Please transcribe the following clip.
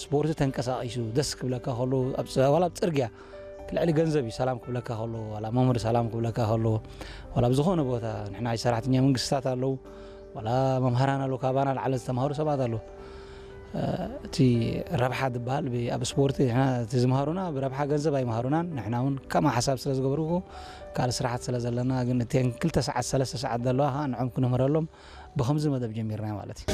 ስፖርት ተንቀሳቒሱ ደስ ክብለካ ከሎ፣ ኣብ ጽ-፣ ዋላ ኣብ ጽርግያ ልዕሊ ገንዘብ እዩ ሰላም ክብለካ ከሎ፣ ዋላ መምህር ሰላም ክብለካ ከሎ፣ ዋላ ኣብ ዝኾነ ቦታ ንሕና ሰራሕተኛ መንግስታት ኣለዉ፣ ዋላ መምሃራን ኣለዉ፣ ካባና ላዕሊ ዝተምሃሩ ሰባት ኣለዉ። እ፣ እቲ ረብሓ ዝበሃል ብ-፣ ኣብ ስፖርት ንሕና እቲ ዝምሃሩና ብረብሓ ገንዘብ ኣይምሃሩናን። ንሕና እውን ከማ ሓሳብ ስለ ዝገብርዎ ካልእ ስራሓት ስለ ዘለና፣ ግን እተን ክልተ ሰዓት ሰለስተ ሰዓት ዘለዋ ከዓ ንዖም ክንምህረሎም ብኸምዚ መደብ ጀሚርና ማለት እዩ።